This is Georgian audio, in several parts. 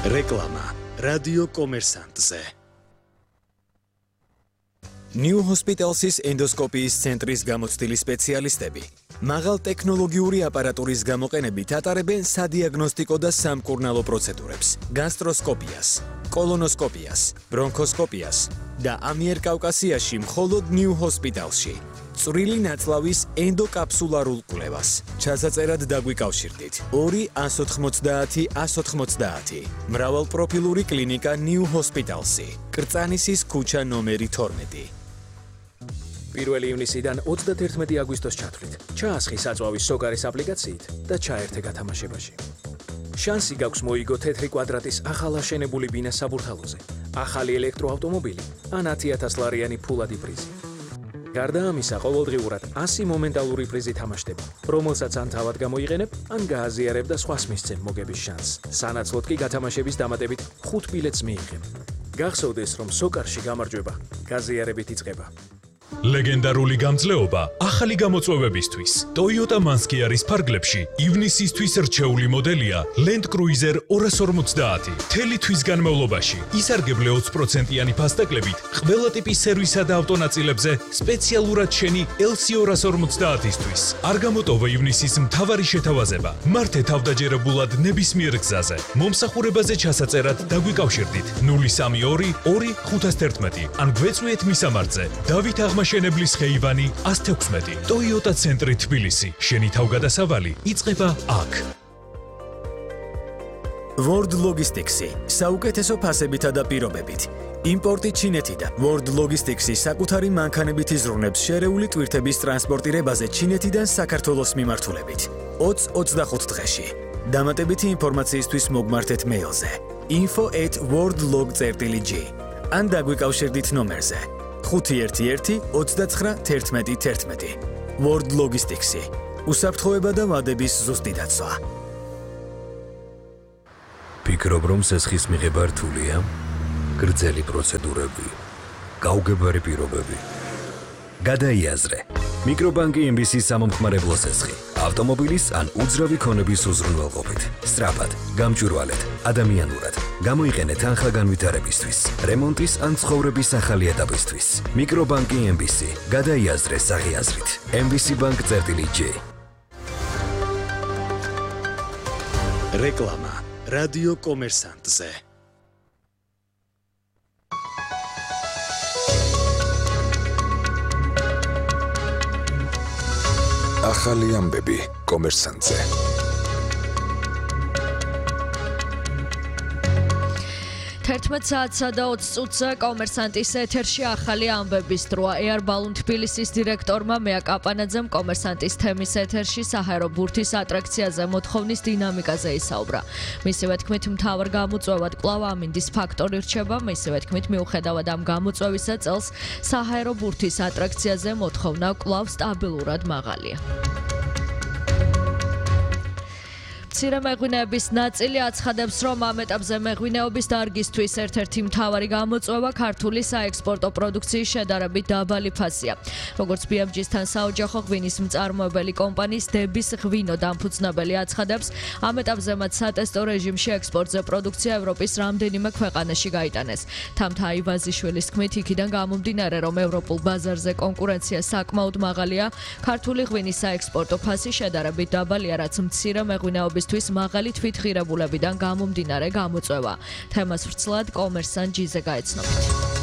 რეკლამა რადიო კომერსანტზე. New Hospitals's ენდოსკოპიის ცენტრის გამოცდილი სპეციალისტები მაღალ ტექნოლოგიური აპარატურის გამოყენებით ატარებენ სადიაგნოსტიკო და სამკურნალო პროცედურებს, გასტროსკოპიას, კოლონოსკოპიას, ბრონქოსკოპიას და ამიერკავკასიაში მხოლოდ New Hospitalsში. წვრილი ნაწლავის ენდოკაფსულარულ კვლევას. ჩასაწერად დაგვიკავშირდით 2-190-190. მრავალპროფილური კლინიკა New Hospitalsი. კრწანისის ქუჩა ნომერი 12. 1 ივნისიდან 31 აგვისტოს ჩათვლით. ჩაასხი საწვავის სოკარის აპლიკაციით და ჩაერთე გათამაშებაში. შანსი გაქვს მოიგო თეთრი კვადრატის ახალ აშენებული ბინა საბურთალოზე, ახალი ელექტროავტომობილი ან 10,000 ლარიანი ფულადი პრიზი. გარდა ამისა, ყოველდღიურად 100 მომენტალური პრიზი თამაშდება, რომელსაც ან თავად გამოიყენებ, ან გააზიარებ და სხვას მისცემ მოგების შანსს. სანაცვლოდ კი გათამაშების დამატებით 5 ბილეთს მიიღებ. გახსოვდეს, რომ სოკარში გამარჯვება გაზიარებით იწყება. ლეგენდარული გამძლეობა ახალი გამოწვევებისთვის. Toyota Manskiaris ფარგლებში ივნისისთვის რჩეული მოდელია Land Cruiser 250. თელი თვის განმავლობაში ისარგებლე 20%-იანი ფასტაკლებით ყველა ტიპის სერვისსა და ავტონაწილებზე სპეციალურად შენი LC 250-ისთვის. არ გამოტოვა ივნისის მთავარი შეთავაზება. მართე თავდაჯერებულად ნებისმიერ გზაზე. მომსახურებაზე ჩასაწერად დაგვიკავშირდით 032 2 511 ან გვეწვიეთ მისამართზე. დავით აღმაშენებლის ხეივანი 116. Toyota ცენტრი თბილისი. შენი თავგადასავალი იწყება აქ. World Logistics-ი საუკეთესო ფასებითა და პირობებით. იმპორტი ჩინეთიდან. World Logistics-ი საკუთარი მანქანებით იზრუნებს შერეული ტვირთების ტრანსპორტირებაზე ჩინეთიდან საქართველოს მიმართულებით. 20-25 დღეში. დამატებითი ინფორმაციისთვის მოგმართეთ მეილზე info@worldlog.g ან დაგვიკავშირდით ნომერზე 511-29-11-11. World Logistics-ი. უსაფრთხოება და ვადების ზუსტი დაცვა. ფიქრობ, რომ სესხის მიღება რთულია? გრძელი პროცედურები, გაუგებარი პირობები. გადაიაზრე. მიკრობანკი MBC-ის სამომხმარებლო სესხი. ავტომობილის ან უძრავი ქონების უზრუნველყოფით. სწრაფად, გამჭვირვალედ, ადამიანურად. გამოიყენეთ თანხა განვითარებისთვის, რემონტის ან ცხოვრების ახალი ეტაპისთვის. მიკრობანკი MBC. გადაიაზრე საღიაზრით. MBC Bank.G. რეკლამა რადიო კომერსანტზე. ახალი ამბები კომერსანტზე. 11 საათსა და 20 წუთზე კომერსანტის ეთერში ახალი ამბების დროა. Air Balloon თბილისის დირექტორმა მეა კაპანაძემ კომერსანტის თემის ეთერში საჰაერო ბურთის ატრაქციაზე მოთხოვნის დინამიკაზე ისაუბრა. მისივე თქმით, მთავარ გამოწვევად კვლავ ამინდის ფაქტორი რჩება. მისივე თქმით, მიუხედავად ამ გამოწვევისა, წელს საჰაერო ბურთის ატრაქციაზე მოთხოვნა კვლავ სტაბილურად მაღალია. მცირე მეღვინეების ნაწილი აცხადებს, რომ ამ ეტაპზე მეღვინეობის დარგისთვის ერთ-ერთი მთავარი გამოწვევა ქართული საექსპორტო პროდუქციის შედარებით დაბალი ფასია. როგორც BMG-სთან საოჯახო ღვინის მწარმოებელი კომპანიის დების ღვინო დამფუძნებელი აცხადებს, ამ ეტაპზე მათ სატესტო რეჟიმში ექსპორტზე პროდუქცია ევროპის რამდენიმე ქვეყანაში გაიტანეს. თამთა აივაზიშვილის თქმით, იქიდან გამომდინარე, რომ ევროპულ ბაზარზე კონკურენცია საკმაოდ მაღალია, ქართული ღვინის საექსპორტო ფასი შედარებით დაბალია, რაც მცირე მეღვინეობის მაღალი თვითღირებულებიდან გამომდინარე გამოწვევა. თემას ვრცლად კომერსანტ ჯიზე გაეცნობით.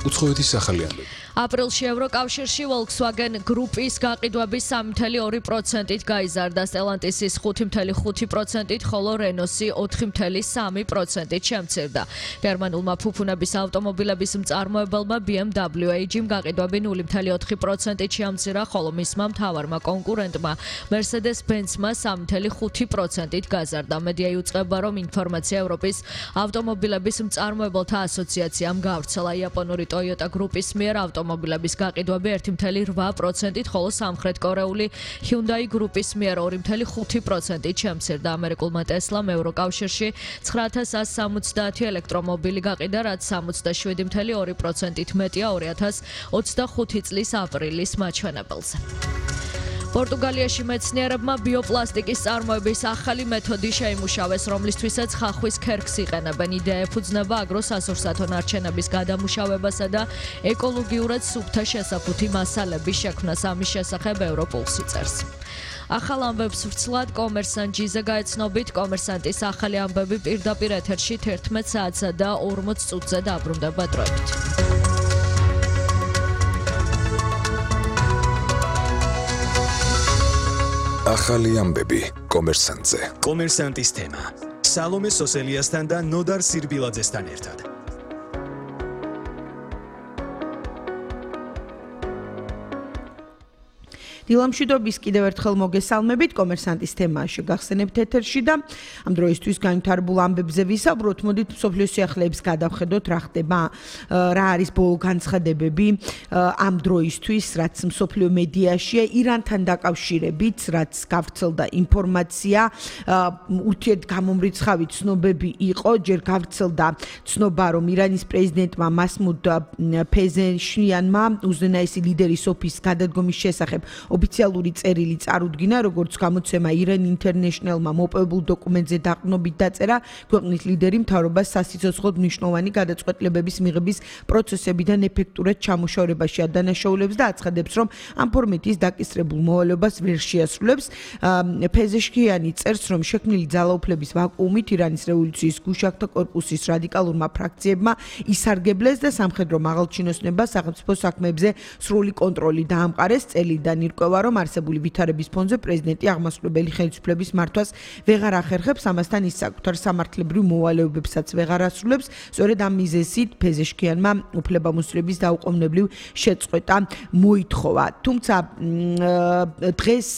უცხოეთის ახალი ამბები. აპრილში ევროკავშირში Volkswagen გრუპის გაყიდვები 3.2%-ით გაიზარდა, Stellantis-ის 5.5%-ით, ხოლო Renault-ი 4.3%-ით შემცირდა. გერმანულმა ფუფუნების ავტომობილების მწარმოებელმა BMW AG-მ გაყიდვები 0.4%-ით შეამცირა, ხოლო მისმა მთავარმა კონკურენტმა Mercedes-Benz-მა 3.5%-ით გაზარდა. მედია იუწყება, რომ ინფორმაცია ევროპის ავტომობილების მწარმოებელთა ასოციაციამ გავრცელა. იაპონური Toyota გრუპის მიერ ავტომობილების გაყიდვები 1.8%-ით, ხოლო სამხრეთ კორეული Hyundai გრუპის მიერ 2.5%-ით შემცირდა. ამერიკულმა Tesla-მ ევროკავშირში 9170 ელექტრომობილი გაყიდა, რაც 67.2%-ით მეტია 2025 წლის აპრილის მაჩვენებელზე. პორტუგალიაში მეცნიერებმა ბიოპლასტიკის წარმოების ახალი მეთოდი შეიმუშავეს, რომლისთვისაც ხახვის ქერქს იყენებენ. იდეა ეფუძნება აგროს ასურსათო ნარჩენების გადამუშავებასა და ეკოლოგიურად სუფთა შესაფუთი მასალების შექმნას. ამის შესახებ ევროპულსი წერს. ახალ ამბებს ვრცლად კომერსანტ.ჟ-ზე გაეცნობით. კომერსანტის ახალი ამბები პირდაპირ ეთერში 11 საათსა და 40 წუთზე დაბრუნდება დროებით. ახალი ამბები კომერსანტზე. კომერსანტის თემა. სალომე სოსელიასთან და ნოდარ სირბილაძესთან ერთად. დილამშვიდობის კიდევ ერთხელ მოგესალმებით კომერსანტის თემაში გახსენებთ ეთერში და ამ დროისთვის განვითარებულ ამბებზე ვისაუბროთ. მოდით მსოფლიოს სიახლეებს გადავხედოთ რა ხდება, რა არის ბოლო განცხადებები ამ დროისთვის, რაც მსოფლიო მედიაშია ირანთან დაკავშირებით, რაც გავრცელდა ინფორმაცია, ურთიერთგამომრიცხავი ცნობები იყო, ჯერ გავრცელდა ცნობა, რომ ირანის პრეზიდენტმა მასმუდ ფეზეშნიანმა უზენაესი ლიდერის ოფისის გადადგომის შესახებ ოფიციალური წერილი წარუდგინა, როგორც გამოცემა Iran International-მა მოპოვებულ დოკუმენტზე დაყრდნობით დაწერა, ქვეყნის ლიდერი მთავრობას სასიცოცხლოდ მნიშვნელოვანი გადაწყვეტილებების მიღების პროცესებიდან ეფექტურად ჩამოშორებაში ადანაშაულებს და აცხადებს, რომ ამ ფორმატის დაკისრებულ მოვალეობას ვერ შეასრულებს. ფეზეშქიანი წერს, რომ შექმნილი ძალაუფლების ვაკუუმით ირანის რევოლუციის გუშაქთა კორპუსის რადიკალურმა ფრაქციებმა ისარგებლეს და სამხედრო მაღალჩინოსნებმა სახელმწიფო საქმეებზე სრული კონტროლი დაამყარეს. წელიდან ირკვევა, რომ არსებული ვითარების ფონზე პრეზიდენტი აღმასრულებელი ხელისუფლების მართვას ვეღარ ახერხებს, ამასთან ის საკუთარ სამართლებრივ მოვალეობებსაც ვეღარ ასრულებს. სწორედ ამ მიზეზით ფეზეშქიანმა უფლებამოსილების დაუყოვნებლივ შეწყვეტა მოითხოვა. თუმცა დღეს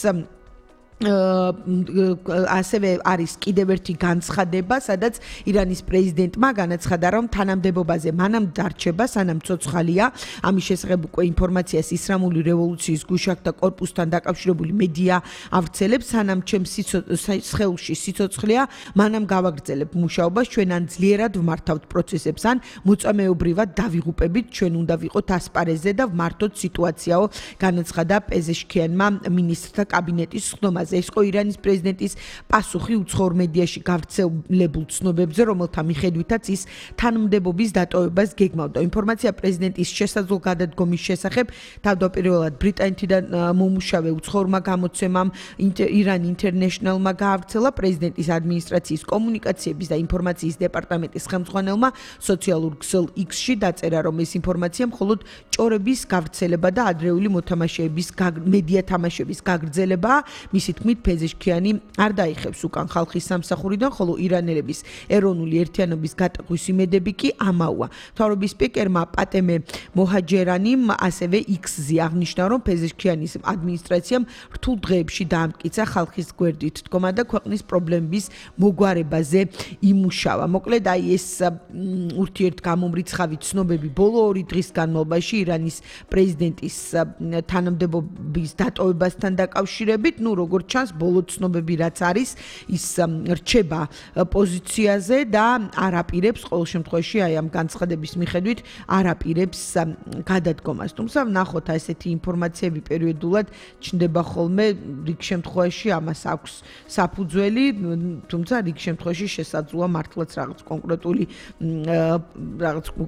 ასევე არის კიდევ ერთი განცხადება, სადაც ირანის პრეზიდენტმა განაცხადა, რომ თანამდებობაზე მანამ დარჩება, სანამ ცოცხალია. ამის შესახებ უკვე ინფორმაციას ისლამური რევოლუციის გუშაქთა კორპუსთან დაკავშირებული მედია ავრცელებს, სანამ ჩემს სხეულში სიცოცხლეა, მანამ გავაგრძელებ მუშაობას, ჩვენ ან ძლიერად ვმართავთ პროცესებს, ან მოწამეობრივად დავიღუპებით, ჩვენ უნდა ვიყოთ ასპარეზზე და ვმართოთ სიტუაციაო, განაცხადა პეზეშქიანმა მინისტრთა კაბინეტის ხდომაზე. ეს იყო ირანის პრეზიდენტის პასუხი უცხოურ მედიაში გავრცელებულ ცნობებზე, რომელთა მიხედვითაც ის თანამდებობის დატოვებას გეგმავდა. ინფორმაცია პრეზიდენტის შესაძლო გადადგომის შესახებ თავდაპირველად ბრიტანეთიდან მომუშავე უცხოურმა გამოცემამ Iran International-მა გაავრცელა. პრეზიდენტის ადმინისტრაციის კომუნიკაციების და ინფორმაციის დეპარტამენტის ხელმძღვანელმა სოციალურ ქსელ X-ში დაწერა, რომ ეს ინფორმაცია მხოლოდ ჭორების გავრცელება და ადრეული მოთამაშეების მედია თამაშების გაგრძელებაა. მისი თქმით, ფეზეშქიანი არ დაიხევს უკან ხალხის სამსახურიდან, ხოლო ირანელების ეროვნული ერთიანობის გატეხვის იმედები კი ამაოა. მთავრობის სპიკერმა პატემე მოჰაჯერანიმ ასევე X-ზე აღნიშნა, რომ ფეზეშქიანის ადმინისტრაციამ რთულ დღეებში დაამტკიცა ხალხის გვერდით დგომა და ქვეყნის პრობლემების მოგვარებაზე იმუშავა. მოკლედ, აი ეს ურთიერთგამომრიცხავი ცნობები ბოლო 2 დღის განმავლობაში ირანის პრეზიდენტის თანამდებობის დატოვებასთან დაკავშირებით, როგორც ჩანს, ბოლო ცნობები რაც არის, ის რჩება პოზიციაზე და არ აპირებს ყოველ შემთხვევაში აი ამ განცხადების მიხედვით არ აპირებს გადადგომას. თუმცა ვნახოთ ესეთი ინფორმაციები პერიოდულად ჩნდება ხოლმე, რიგ შემთხვევაში ამას აქვს საფუძველი, თუმცა რიგ შემთხვევაში შესაძლოა მართლაც რაღაც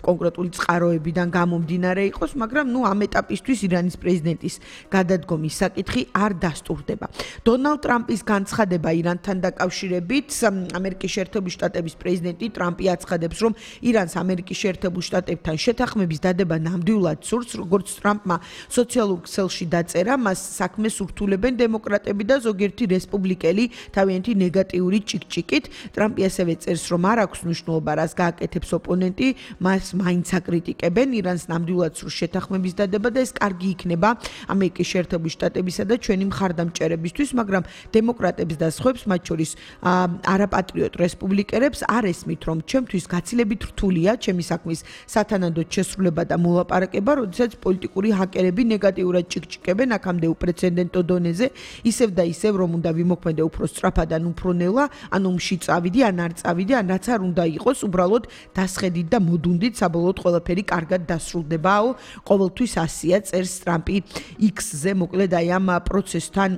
კონკრეტული წყაროებიდან გამომდინარე იყოს, მაგრამ ამ ეტაპისთვის ირანის პრეზიდენტის გადადგომის საკითხი არ დასტურდება. დონალდ ტრამპის განცხადება ირანთან დაკავშირებით. ამერიკის შეერთებული შტატების პრეზიდენტი ტრამპი აცხადებს, რომ ირანს ამერიკის შეერთებულ შტატებთან შეთანხმების დადება ნამდვილად სურს, როგორც ტრამპმა სოციალურ ქსელში დაწერა, მას საქმეს ურთულებენ დემოკრატები და ზოგიერთი რესპუბლიკელი თავიანთი ნეგატიური ჭიკჭიკით. ტრამპი ასევე წერს, რომ არ აქვს მნიშვნელობა, რას გააკეთებს ოპონენტი, მას მაინც აკრიტიკებენ. ირანს ნამდვილად სურს შეთანხმების დადება და ეს კარგი იქნება ამერიკის შეერთებული შტატებისა და ჩვენი მხარდამჭერებისთვის, მაგრამ დემოკრატებს და სხვებს, მათ შორის არაპატრიოტ რესპუბლიკელებს არ ესმით, რომ ჩემთვის გაცილებით რთულია ჩემი საქმის სათანადოდ შესრულება და მოლაპარაკება, როდესაც პოლიტიკური ჰაკერები ნეგატიურად ჭიკჭიკებენ აქამდე უპრეცედენტო დონეზე, ისევ და ისევ, რომ უნდა ვიმოქმედე უფრო სწრაფად ან უფრო ნელა, ან ომში წავიდი, ან არ წავიდი, ან რაც არ უნდა იყოს, უბრალოდ დასხედით და მოდუნდით, საბოლოოდ ყველაფერი კარგად დასრულდებაო. ყოველთვის ასია წერს ტრამპი X-ზე, მოკლედ აი ამ პროცესთან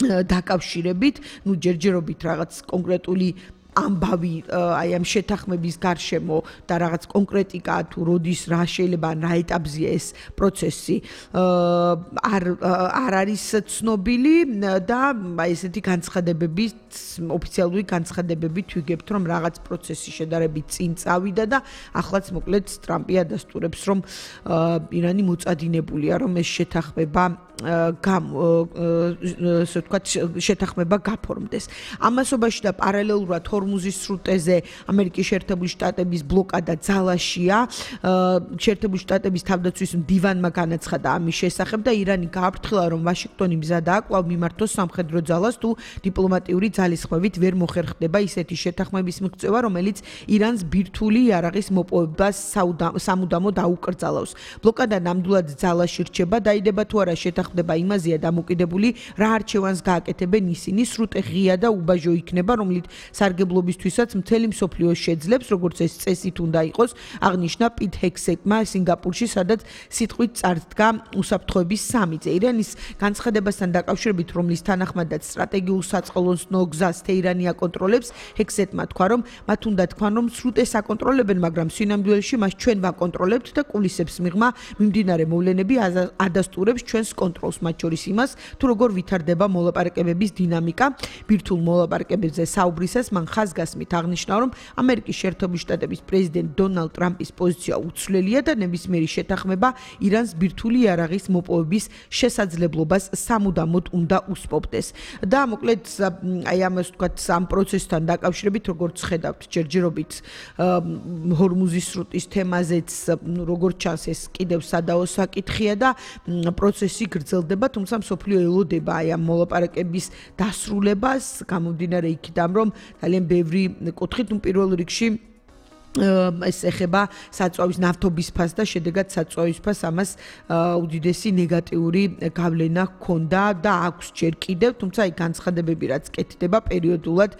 დაკავშირებით, ჯერჯერობით რაღაც კონკრეტული ამბავი აი ამ შეთანხმების გარშემო და რაღაც კონკრეტიკა თუ როდის რა შეიძლება რა ეტაპზეა ეს პროცესი არ არის ცნობილი და აი ესეთი განცხადებები ოფიციალური განცხადებებით ვიგებთ რომ რაღაც პროცესი შედარებით წინ წავიდა და ახლაც მოკლედ ტრამპი ადასტურებს რომ ირანი მოწადინებულია რომ ეს შეთანხმება შეთანხმება გაფორმდეს. ამასობაში და პარალელურად ჰორმუზის სრუტეზე ამერიკის შეერთებული შტატების ბლოკადა ძალაშია. შეერთებული შტატების თავდაცვის მდივანმა განაცხადა ამის შესახებ და ირანი გააფრთხილა, რომ ვაშინგტონი მზადაა კვლავ მიმართოს სამხედრო ძალას თუ დიპლომატიური ძალისხმევით ვერ მოხერხდება ისეთი შეთანხმების მიღწევა, რომელიც ირანს ბირთვული იარაღის მოპოვებას სამუდამოდ აუკრძალავს. ბლოკადა ნამდვილად ძალაში რჩება, დაიდება თუ არა შეთანხმება იმაზეა დამოკიდებული, რა არჩევანს გააკეთებენ ისინი, სრუტე ღია და უბაჟო იქნება, რომლით სარგებლობისთვისაც მთელი მსოფლიო შეძლებს, როგორც ეს წესით უნდა იყოს, აღნიშნა პიტ ჰექსეტმა სინგაპურში, სადაც სიტყვით წარდგა უსაფრთხოების სამიტზე. ირანის განცხადებასთან დაკავშირებით, რომლის თანახმადაც სტრატეგიულ საწყლოსნო გზას თეირანი აკონტროლებს, ჰექსეტმა თქვა, რომ მათ უნდა თქვან, რომ სრუტეს აკონტროლებენ, მაგრამ სინამდვილეში მას ჩვენ ვაკონტროლებთ და კულისებს მიღმა მიმდინარე მოვლენები ადასტურებს ჩვენს კონტროლს, მათ შორის იმას, თუ როგორ ვითარდება მოლაპარაკებების დინამიკა. ბირთვულ მოლაპარაკებებზე საუბრისას მან ხაზგასმით აღნიშნა, რომ ამერიკის შეერთებული შტატების პრეზიდენტ დონალდ ტრამპის პოზიცია უცვლელია და ნებისმიერი შეთანხმება ირანს ბირთვული იარაღის მოპოვების შესაძლებლობას სამუდამოდ უნდა უსპობდეს. და მოკლედ აი ამას ვთქვათ ამ პროცესთან დაკავშირებით, როგორც ხედავთ, ჯერჯერობით ჰორმუზის სრუტის თემაზეც როგორც ჩანს ეს კიდევ სადაო საკითხია და პროცესი გრძელდება, თუმცა მსოფლიო ელოდება აი ამ მოლაპარაკების დასრულებას, გამომდინარე იქიდან, რომ ძალიან ბევრი კუთხით, პირველ რიგში ეს ეხება საწვავის ნავთობის ფასს და შედეგად საწვავის ფასს ამას უდიდესი ნეგატიური გავლენა ჰქონდა და აქვს ჯერ კიდევ, თუმცა აი განცხადებები რაც კეთდება პერიოდულად